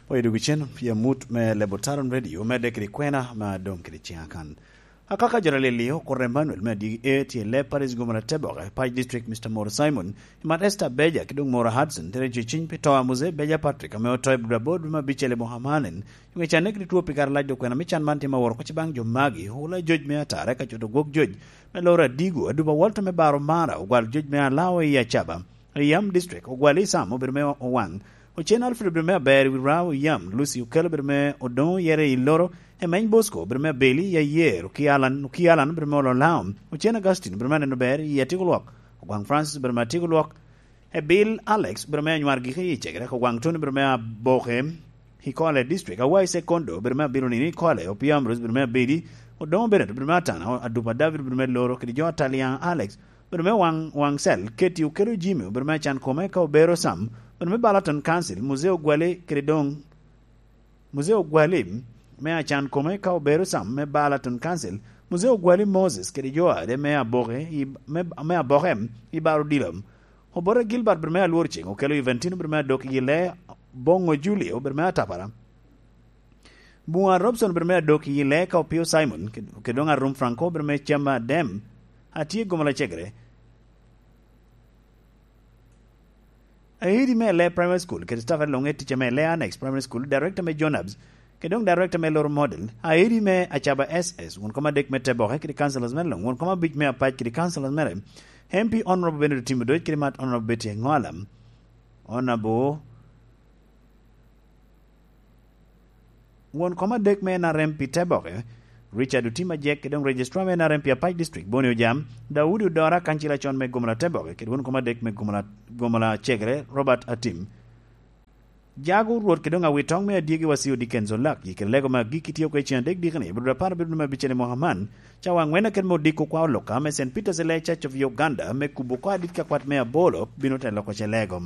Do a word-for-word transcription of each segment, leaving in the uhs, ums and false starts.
Oyo dogicen pi amut me Lebo Taron Radio, medde kede kwena ma doŋ kede ciŋa kan. Akaka jo Lalili okuto Emmanuel me adigi e tye i Leb Parish, Gomala Teboke, Pac District, Mister Moro Simon, i mat Esther Beja, ki doŋ Moro Hudson, tere jo ciny pi to a Mose Beja Patrick, ame oto i Budabod me abicel i Bohamanen, i ŋec aneke two pi kare lac. Dok kwena me can man tye ma woro koc baŋ jo magi, ola joc me atara, ka coto gwok joc me loro adigo, aduba Walter me baro mara, ogwal joc me alawa i Acaba, i Yam District, ogwal i Sam obedo me owaŋ, Ocen Alfred obedo me aber i wi Rao i Yam, Lucy Okello obedo me odoŋo yere i Loro, Emeny Bosco obedo me abeli i Ayer, Oki Alan, Oki Alan obedo me olo Laom, Ocen Augustine obedo me aneno ber i Atyeko Lwok, Ogwaŋ Francis obedo me Atyeko Lwok, Ebil Alex obedo me anywar gike i Cegere, Ogwaŋ Tony obedo me Aboke i Kole District, Awai Sekondo obedo me abilo nino i Kole, Opio Ambrose obedo me abedi, Odoŋo Bennett obedo me atana, Adupa David obedo me Loro, kede jo Ataliaŋ Alex obedo me waŋ, waŋ cel, Keti Okelo Jimmy obedo me acan kome ka obero Sam, obedo me Balaton Council, Muzee Ogwale kede doŋ, Muzee Ogwale me acan kome ka obero Sam me Balaton Council, Muzee Ogwale Moses kede jo ade me Aboke i, me, me Aboke i Baro Dilo. Obote Gilbert obedo me Alwor Ceng, Okelo Juventino obedo me adok i le, Boŋo Julio obedo me atapara. Buŋa Robson obedo me adok i le ka Opio Simon, ked-, kede doŋ Arum Franco obedo me cam adem. Atye Gomala Cegere. Aidi me le Primary School, kede staff adwoŋ e ticca me le Annex Primary School, director me Jonabs, kede doŋ director me Loro Model, Aidi me Acaba S S, won kom adek me Teboke, kede councillors mere luŋ, won kom abic me Apac, kede councillors mere, M P Honorable Bernard Otim Odoc, kede mat Honorable Betty Engola, Honorable won kom adek me N R M pi Teboke, Richard Otim Ajek, kede doŋ Registrar me N R M pi Apac District, Boni Ojam, Daudi Odora, kancila con me Gomala Teboke, kede won kom adek me Gomala, Gomala Cegere, Robert Atim. Jago Rwot kede doŋ Awitoŋ me Adyegi Wasio Dickens Olak, i kede lego me agikki tye oko i cen adek dikni, i Budapar bedo me abicel i mwaka man, cawa aŋwen akene me odiko kwa oloka me Saint Peter's Elite Church of Uganda, me kubo oko adit ka kwat me abolo, bino telo oko ce lego.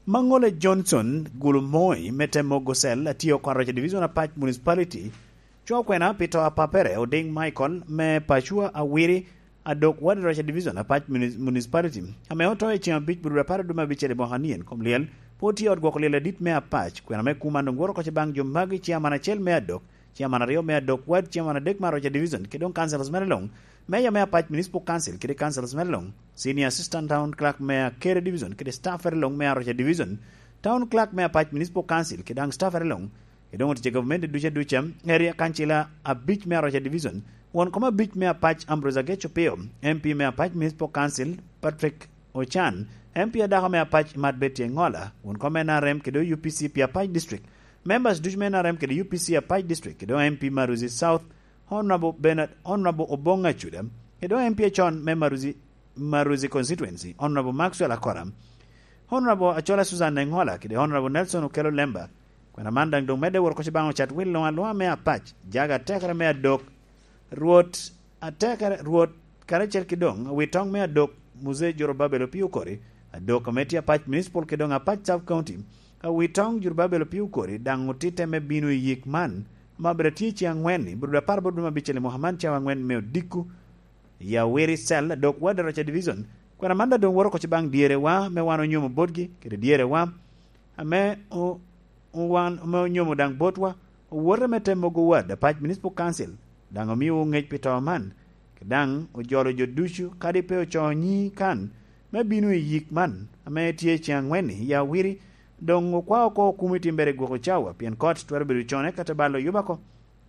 Maŋole Johnson Gulumoi me te mogo cel, atye oko Aroca Division Apac Municipality, cwo kwena pi to a papere Oding Michael me Pacua Awiri, adok wadi Aroca Division Apac Muni-, Municipality, ame oto i ceŋ abic Budura apar aduma abicel i mwaka nien kom lyel, pwod tye ot gwoko lyel adit me Apac, kwena me kuma doŋ woro koc baŋ jo magi, ciaman acel me adok, ciaman aryo me adok wad, ciaman adek me Aroca Division, kede doŋ councillors mere luŋ, Mayor me Apac Municipal Council kede councillors mere luŋ, Senior Assistant Town Clerk me Akere Division kede staff mere luŋ me Aroca Division, Town Clerk me Apac Municipal Council kede daŋ staff mere luŋ, kede doŋ otic a gavumenti ducu aduca, area councillor abic me Aroca Division, won kom abic me Apac Ambrose Agec Opio, M P me Apac Municipal Council Patrick Ochan, M P adako me Apac Mat Betty Engola, won kom N R M kede U P C pi Apac District, members ducu me N R M kede U P C Apac District, kede doŋ M P Maruzi South, Honorable Bernard, Honorable Obong Acuda, kede doŋ M P acon me Maruzi, Maruzi Constituency, Honorable Maxwell Akora, Honorable Achola Susan Engola, kede Honorable Nelson Okello Lemba. Kwena man daŋ doŋ medde woro koc baŋ ocat wil luŋ aluŋa me Apac, jaga atekere me adok, Rwot atekere, Rwot karacel ki doŋ Awitoŋ me adok, Muzee Jorobabel Opio Okori, adok ame tye Apac Municipal kede doŋ Apac Sub County, Awitoŋ Jorobabel Opio Okori, daŋ otitte me bino i yik man, ma bene tye i ceŋ aŋwen-ni, Budura apar bot dwe me abicel i mwaka man, cawa aŋwen me odiko, i Awiri Cell, adok wad Aroca Division. Kwena man daŋ doŋ woro koc baŋ dyerewa, me wan onyomo botgi, kede dyerewa, ame o-, owan, ame onyomo daŋ botwa, owote me te mogo wad, Apac Municipal Council, daŋ omiowu ŋec pi to man, kede daŋ ojolo jo ducu, kadi pe ocoo nyi kan, me bino i yik man, ame tye i ceŋ aŋwen-ni, i Awiri, doŋ okwa oko okumi timbere i gwoko cawa, pien kot twero bedo cone ka te balo yuba oko.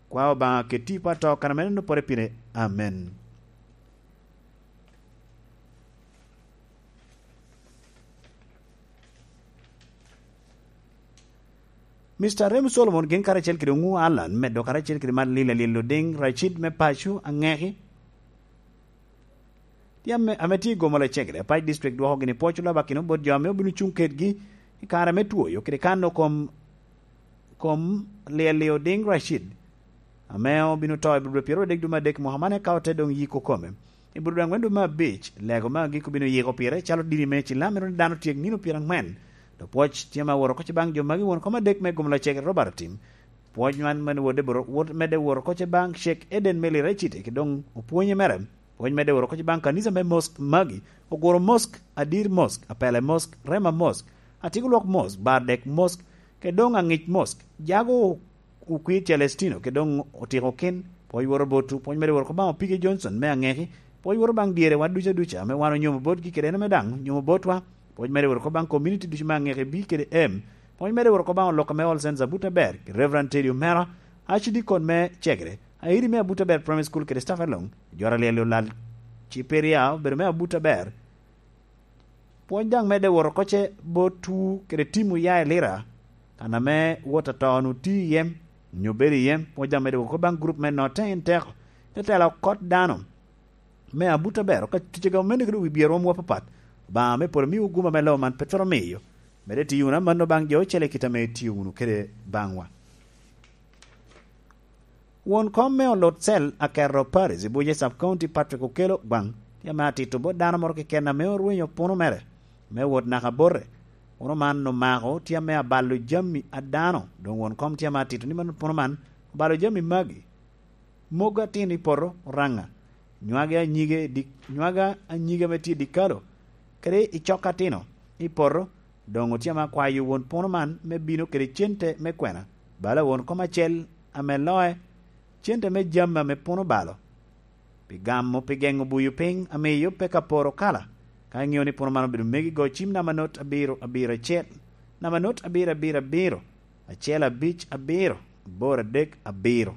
Kwa Obaŋa ket tipo ato kan ame neno pore pire. Amen. Mister Rem Solomon gin karacel kede Oŋu Alan, medo karacel kede Malila Lil Oding Racid me Paco Aŋeki, tye ame, ame tye i Gomala Cegere, Apac District dwoko gini pwoc olabakino bot jo ame obino cuŋ kedgi i kare me twoyo kede kano kom, kom Lili Oding Racid, ame obino to i Budura pyeraryo adek dwe me adek mwaka man, eka ote doŋ yiko kome. I Budura aŋwen dwe me abic, lego me agik obino yiko pire calo dini me Ecilam, ento ni dano tyek nino pyeraŋwen. Dok pwoc tye ma woro koc baŋ jo magi, won kom adek me Gomala Cegere Robert Otim. Pwoc man mene wodde boro-, wot-, medde woro koc baŋ Sheikh Eden Meli Racid, ki doŋ opwonye mere. Pwony medde woro koc baŋ kanisa me Mosque Magi, Oguro Mosque, Adir Mosque, Apele Mosque, Rema Mosque, Atigolwok Mosque, Bardek Mosque, kede doŋ Aŋic Mosque. Jago Okwir Celestino, kede doŋ Otiko Kin. Pwony woro botwu, pwony medde woro kobaŋ Opige Johnson me Aŋeki, pwony woro baŋ dyere wa duca duca, ame wan onyomo botgi kede en ame daŋ onyomo botwa. Pwony medde woro kobaŋ community ducu me Aŋeki B kede M. Pwony medde woro kobaŋ olok ame All Saints Abuta Ber, Reverend Teddy Omera, Archdeacon me Cegere, Airi me Abuta Ber Primary School kede staff eloŋ, jora lyel olal Ciperia obedo me Abuta Ber. Pwony daŋ medde woro koce botwu kede tim oya i Lira, kan ame wot ato-nu tye i yem, onyo bedo i yem. Pwony daŋ medde woro kobaŋ gurup me Notte in Teko, te tela okot dano me Abuta Ber, ka ticega omene kede wi byer romwu apapat. Obaŋa me polo miwu guma me lobo man pe twero miyo. Medde tiyo wunu amanno baŋ jo ocele kit ame itio wunu kede baŋwa. Won kom me Olot Cell Akerro Parish i Buce Sub County Patrick Okello Gwaŋ tye ame atito bot dano moro keken ame orwenyo puno mere me wot naka bote. Puno man omako tye ame abalo jami a dano, doŋ won kom tye ame atito ni man puno man obalo jami magi: mogo atino i poto Oraŋa, nywage anyige di-, nywage anyige ame tye i dikalo, kede i cok atino i poto. Doŋ otye ame akwayo won puno man me bino kede cente me kwena, bala won kom acel ame loc, cente me jami ame puno balo, pi gamo pi geŋo buyo piny amiyo pe ka poro kala. Ka iŋeo ni puno man obedo megi, go cim namba not abiro abiro acel, namba not abiro abiro abiro, acel abic abiro, aboro adek abiro.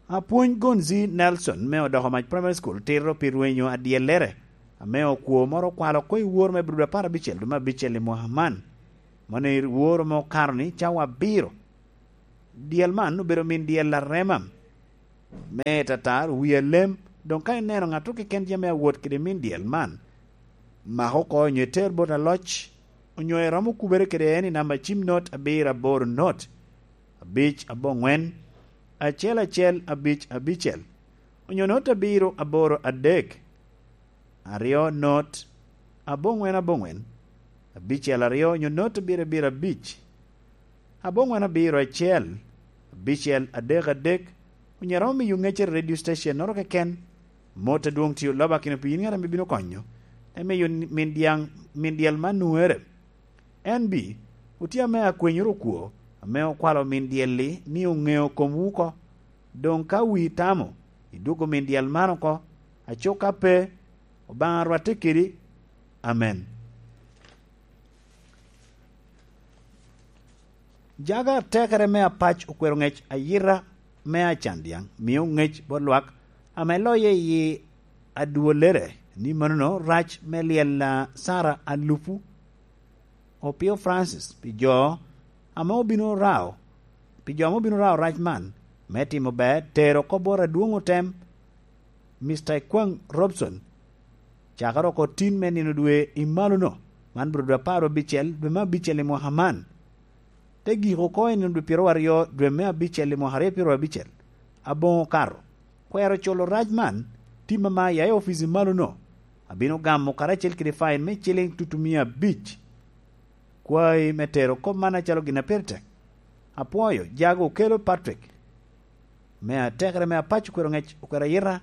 Apwony Gonzi Nelson me Odoko Mac Primary School tito pi rwenyo adyellere, ame okwo moro okwalo oko i woro me Abril apar abicel dwe me abicel i mwaka man. Mano i woro me okato ni cawa abiro. Dyel man obedo min dyel arema me tatar, wi alem. Doŋ ka ineno ŋat keken tye ame awot kede min dyel man, mak oko onyo iter bot aloc, onyo iromo kubere kede en i namba cim not abiro aboro not, abic aboŋwen, acel acel abic abicel, onyo not abiro aboro adek, aryo not, aboŋwen aboŋwen, abicel aryo, onyo not abiro abiro abic, aboŋwen abiro acel, abicel adek adek, onyo iromo miyo ŋeccere i radio station-noro keken. Mot adwoŋ tye olobakino pi yin ŋat ame bino konyo, te miyo min dyaŋ, min dyel man nwoŋere. En bi, otye ame akwenyoro okwo, ame okwalo min dyel-li ni oŋeo komwu oko. Doŋ ka wi tamo, idwogo min dyel man oko, aco ka pe, Obaŋa rwatte kedi. Amen. Jaga atekere me apac okwero ŋec ayita me acan dyaŋ, mio ŋec bot lwak ame loye i adwolere, ni manono rac me lyel a Sara alupu Opio Francis pi jo ame obino rao, pi jo ame obino rao rac man me timo ber, tero kop bot adwoŋ otem, Mister Ikwaŋ Robson, cakere oko tin me nino dwe i malono, man obedo dwe apar abicel, dwe me abicel i mwaka man. Te gik oko i nino dwe pyeraryo dwe me abicel i mwaka aryo pyeraryo abicel, aboŋo okato. Kwero culo rac man, tim ama ya i opic i malono, abino gamo karacel kede fain me ciliŋ tutumia abic. Kwayi me tero kop man acalo gin a pire tek. Apwoyo, jago okelo Patrick, me atekere me apac okwero ŋec, okwero ayita,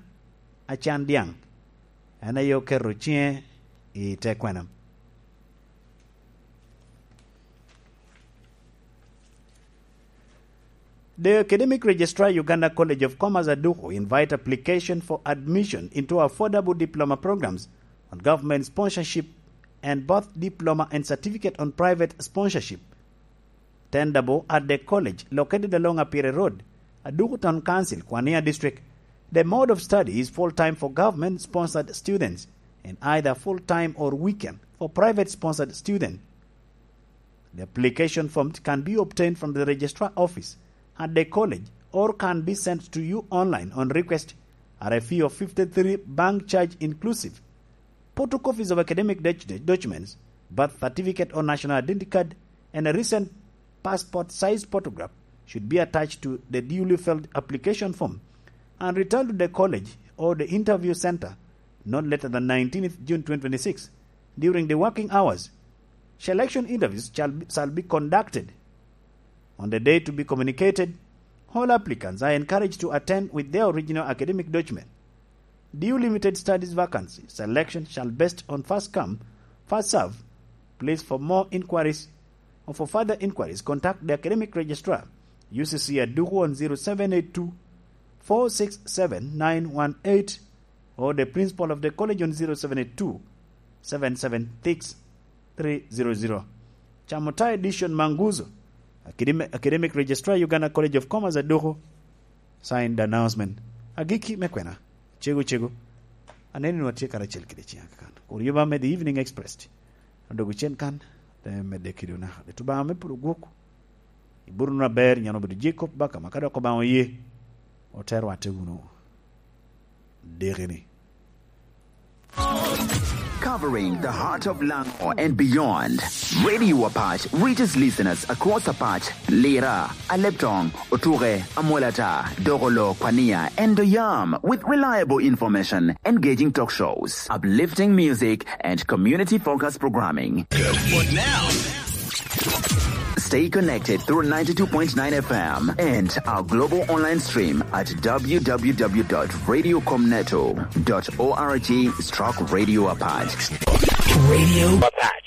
acan dyaŋ. En aye oketo ciŋe i te kwena. The Academic Registrar, Uganda College of Commerce, Aduku, invite application for admission into affordable diploma programs on government sponsorship and both diploma and certificate on private sponsorship. Tenable at the college located along Apire Road, Aduku Town Council, Kwania District. The mode of study is full-time for government-sponsored students and either full-time or weekend for private-sponsored students. The application form can be obtained from the registrar office at the college or can be sent to you online on request at a fee of fifty-three bank charge inclusive. Photocopies of academic doc-, documents, birth certificate or national identity card, and a recent passport size photograph should be attached to the duly filled application form and returned to the college or the interview center not later than nineteenth June twenty twenty-six during the working hours. Selection interviews shall be, shall be conducted on the day to be communicated All applicants are encouraged to attend with their original academic document. Due limited studies vacancy, selection shall based on first come, first serve. Please, for more inquiries or for further inquiries, contact the academic registrar, U C C Aduku, on zero seven eight two, four six seven, nine one eight, or the principal of the college on zero seven eight two, seven seven six, three zero zero. Chamota Edition Manguzo, Academic, Academic Registrar, Uganda College of Commerce, Aduku. Signed announcement. Agikki me kwena. Cego, cego. Aneno ni watye karacel kede ciŋa kakan. Kur yuba me The Evening Express. Adogo cen kan, te medde kede onaka. Leto Obaŋa me polo gwok. Iburu wunu aber, nyan obedo Jacob Bakama, ka dok Obaŋa oye, ote rwatte wunu. Dikini. Covering the heart of Lango and beyond, Radio Apac reaches listeners across Apac, Lira, Aleptong, Otuke, Amolata, Dogolo, Kwania, and Doyam with reliable information, engaging talk shows, uplifting music, and community-focused programming. But now, stay connected through ninety-two point nine F M and our global online stream at W W W dot radio com neto dot org stroke radio Apac. Radio Apac.